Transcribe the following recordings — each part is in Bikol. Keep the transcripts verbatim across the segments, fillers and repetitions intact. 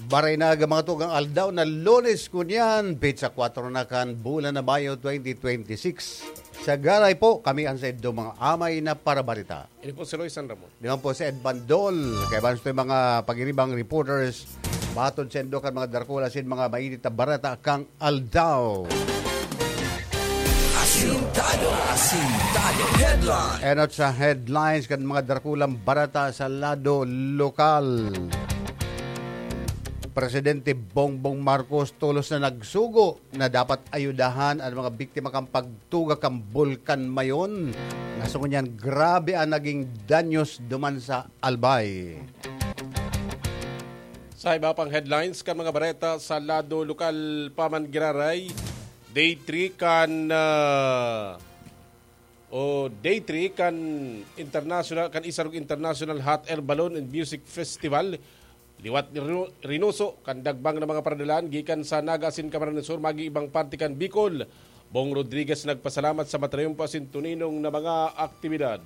Maray na mga tugang aldaw na Lunes kunyan, petsa kwatro na kan bulan na Mayo twenty twenty-six. Sa Garay po, kami ang saindo mga amay na parabarita. Ini po si Roy San Ramon. Di man po si Ed Bandol. Kaya ba ito yung mga pagiribang reporters? Batod saindo kan mga darkula sin mga mainit na barata kang aldaw. Asintado, asintado, headline. Enot sa headlines kan mga darkulang barata sa lado lokal. Presidente Bongbong Marcos tolos na nagsugo na dapat ayudahan an mga biktima kan pagtuga kan Bulkan Mayon. Nasungon niyan, grabe ang naging danyos duman sa Albay. Sa iba pang headlines kan mga bareta sa lado lokal pa man giraray, day three kan, ah, o day three kan international, kan Isarog International Hot Air Balloon and Music Festival. Liwat ni Rino-, Reynoso, kan dagbang na mga paradalan gikan sa Naga asin Camarines Sur, maging ibang parte kan Bicol. Bong Rodriguez nagpasalamat sa matrayumpo asin tuninong na mga aktibidad.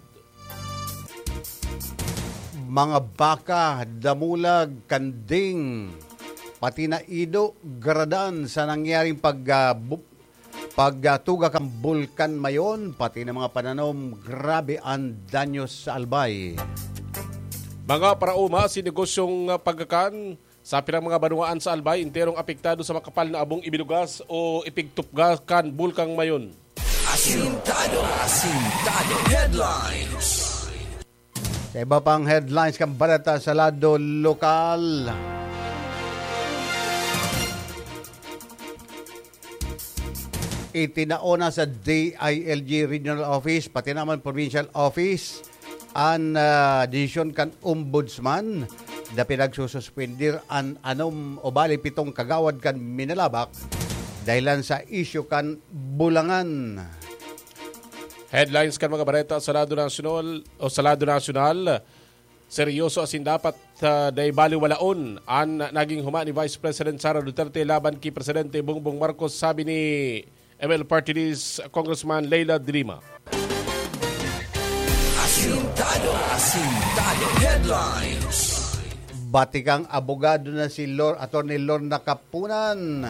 Mga baka, damulag, kanding, pati na ido, garadan sa nangyaring pag, ah, bu-, pagtuga kan Bulkan Mayon, pati na mga pananom, grabe ang danyos sa Albay. Mga paraoma si negosyong, ah, pagkakan sa pirang mga banwaan sa Albay, enterong apektado sa makapal na abong ibinugas o ipigtupga kan Bulkan Mayon. Asintado, asintado headlines. Sa iba pang headlines kan balita sa lado lokal, itinao na sa D I L G Regional Office, pati naman Provincial Office, an, ah, desisyon kan Ombudsman na pinagsususpender an anom o bali pitong kagawad kan Minalabac dahilan sa isyu kan bulangan. Headlines kan mga bareta sa lado nasyonal o sa lado nasyonal. Seryoso asin dapat, ah, dai baliwalaon an naging huma ni Vice President Sara Duterte laban ki Presidente Bongbong Marcos, sabi ni M L Party List Congressman Leila de Lima. Asintado, asintado headlines. Batikang abogado na si Lor-, Attorney Lorna Kapunan.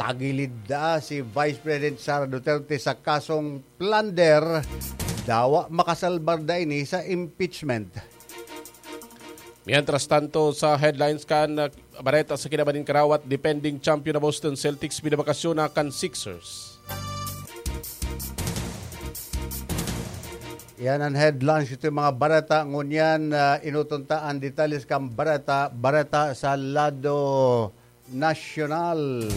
Tagilid na si Vice President Sara Duterte sa kasong plunder. Dawa makasalbar na ini sa impeachment. Mientras tanto, sa headlines kan, uh, bareta sa kinaban nin karawat, defending champion na Boston Celtics, binabakasyon na kan Sixers. Yan ang headlines. Ito yung mga bareta. Ngunyan, uh, inutunta ang detalles kan bareta. Bareta sa lado nasyonal.